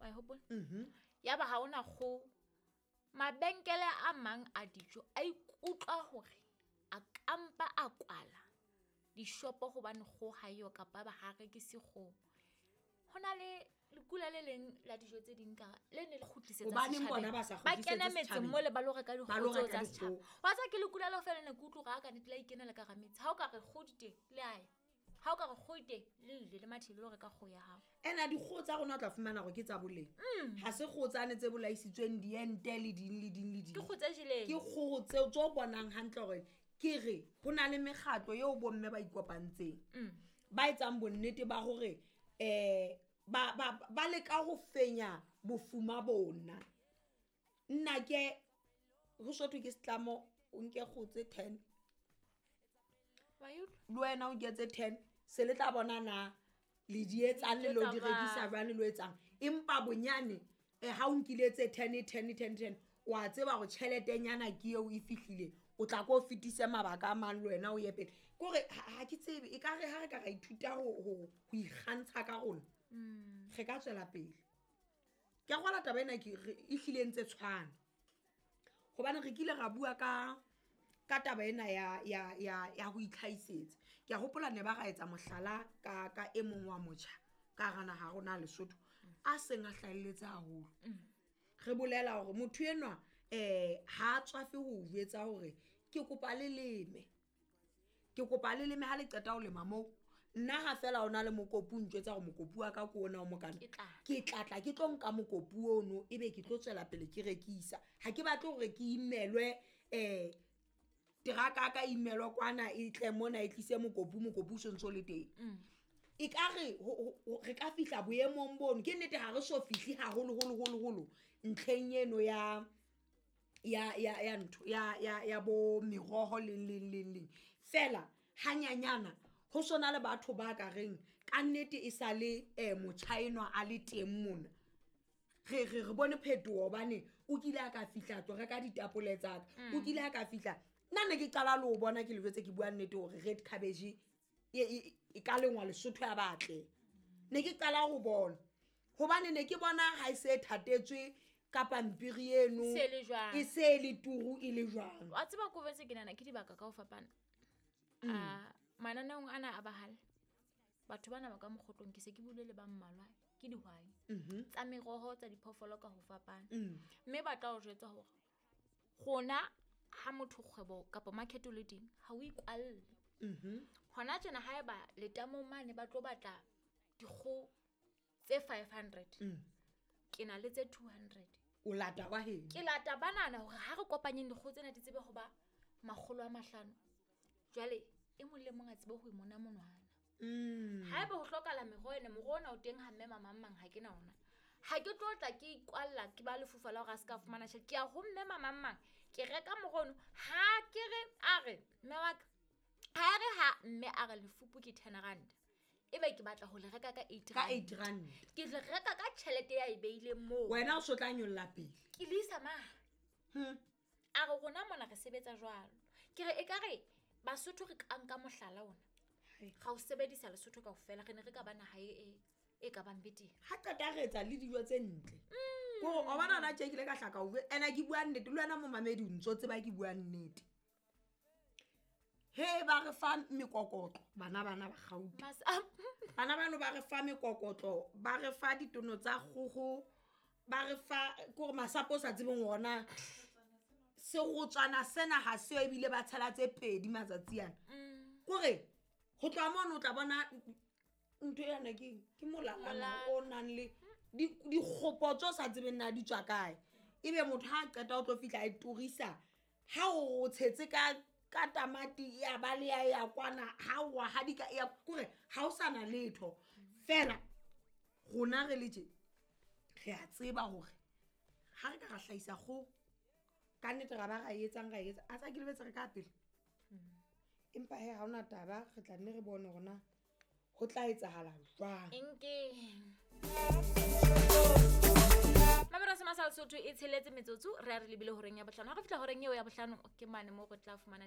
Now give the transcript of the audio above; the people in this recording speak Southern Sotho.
Wa e hopola? Yaba ha ona kgoho. Mabenkele a mang a dijo a ikutlwa hore a kampa a kwala dishopo hobane kgoho ha eyo kapa ba ha rekise kgoho. Ho na le lekula le leng la dijo tse ding ka le ne le kgutlisetsa Hobaneng setjhabeng. bona ba sa Ba kena kgutlisetse metseng setjhabeng? mole ba lo reka Ba dikgoho lo tseo reka tsa setjhaba. dikgoho. Wa tseba ke lekula leo feela ne ke utlwe hore ha ka nnete la ikenela ka hara metse. Ha o ka re kgoho di teng, le a ya. Ha o ka re kgoho e teng, le ile le mathile le lo reka kgoho ya hao. Ena dikgoho tsa rona o tla fumana hore ke tsa boleng. Ha se kgoho tsane tse bolaisitsweng diente le ding le ding le ding. Ke kgoho tse jeleng. Ke kgoho tseo tse o bonang hantle hore ke re ho na le mekgatlo eo bomme ba ikopantseng. Ba etsang bonnete ba hore ba leka ho fenya bofuma bona. Nna ke ho sothwe ke setlamo o nke kgoho tse 10. Wa e utlwa? Le wena o nke tse 10, se le tla bona na le di etsang le lo di Di etsa rekisa jwang? jwang le lo etsang. Empa bonyane ha o nkile tse 10, 10, 10, 10, wa tseba hore tjheletenyana ke eo e fihlile, o tla ko fetise mabaka a mang le wena o ye pele. Ke hore ha ke tsebe, ekare ha re ka ra ithuta ho ikgantsha ka rona, re ka tswela pele. Ke a kgolwa taba ena ke re e hlile ntse tshwana. Hobane re kile ra bua ka taba ena ya ho itlhahisetsa. Ke a hopola ne ba ra etsa mohlala ka e mong wa motjha ka hara naha ya rona ya Lesotho a seng a hlahelletse haholo. Re bolela hore motho enwa ha a tswafe ho jwetsa hore ke kopa le leme. Ke kopa le leme ha le qeta ho lema moo. Nna ha fela o na le mokopu, o ntjwetsa hore mokopu wa ka ke ona o mokana. Ke tla. Ke tla tla ke tlo nka mokopu ono, ebe ke tlo tswela pele ke rekisa. Ha ke batle hore ke imelwe, teraka ka imelwa kwana e tle mona e tlise mokopu, mokopu o sontso le teng. Ekare re ka fihla boemong bono. Ke nnete ha re so fihle haholo, holo, holo, holo ntlheng eno ya, ya, ya, ya ntho, ya, ya, ya bo meroho leng, leng, leng, leng. Fela hanyanyana ho sona le batho ba ka reng ka nnete e sa le motjha enwa a le teng mona. Re bone phetoho hobane o kile a ka fihla a tlo reka ditapole tsa ka. O kile a ka fihla. Nna ne ke qala le ho bona ke le jwetse ke bua nnete hore red cabbage e ka lengwa Lesotho ya batle. Ne ke qala ho bona. Hobane ne ke bona ha e se thatetswe ka pampiri eno, Se le jwang? e se le turu e le jwang. Wa tseba ko bese ke nahana ke dibaka ka ho fapana. Mananeong ana a bahale, batho bana ba ka mokgotlong ke se ke buile le ba mmalwa ke dihwai. Tsa meroho, tsa diphoofolo ka ho fapana. Mme ba tla o jwetsa hore rona ha motho kgwebo kapa market o le teng, ha o ikwalle. Hona tjena haeba letamong mane ba tlo batla dikgoho tse 500, ke na le tse 200. O lata wa heno? Ke lata banana hore ha re kopanyeng dikgoho tsena di tsebe ho ba makgolo a mahlano. Jwale e mong le mong a tsebe ho imona monwana. Haeba ho hlokahala meroho ena, moroho ona o teng ha mme mamang mang ha ke na ona. Ha ke tlo tla ke ikwalla ke ba lefufa la hore a se ka fumana tjhelete. Ke ya ho mme mamang mang, ke reka moroho ono. Ha ke re a re mme wa ka, ha re ha mme a re lefupu ke 10 rand. Ebe ke batla ho le reka ka 8 Ka rand. 8 rand. Ke le reka ka tjhelete ya e beileng moo. Wena o so tla nyolla pele. Ke le isa mang? A re rona mona re sebetsa jwalo. Ke re ekare Basotho re ka nka mohlala ona. Hai. Ra o sebedisa Lesotho kaofela, re ne re ka ba naha e ka bang betere. Ha qeta re etsa le dijo tse ntle. Kore o bona hona tje ke ile ka hlaka ho bua, ena ke bua nnete, le wena momamedi o ntso tseba ke bua nnete. He ba re fa mekokotlo, bana bana ba Gauteng. Bana bano ba re fa mekokotlo, ba re fa ditono tsa kgoho, ba re fa kore masapo o sa tsebeng ona. Serotswana sena ha seo ebile ba tshela tse pedi matsatsi ana. Kore ho tloha mono o tla bona ntho ena ke eng? Ke molalana Molala. o nang le dikgopo tse o sa tsebeng na di tswa kae. Ebe motho ha a qeta o tlo fihla a e turisa, ha o tshetse ka tamati ya ba le ya ya kwana, ha o wa hadika ya, kore ha o sa na letho. Fela rona re le tje, re a tseba hore ha re ka ra hlahisa kgoho, ka nnete ra ba ra e etsang, ra e etsa. A tsa ke lebetse re ka pele. Empa he, ha hona taba, re tla nne re bone hore na ho tla etsahala jwang. Enke. Mamelo se masal Sotho e tsheletse metsotso, re a re lebile horeng ya bohlano. Ha re fihla horeng eo ya bohlano, ke mane moo re tla fumana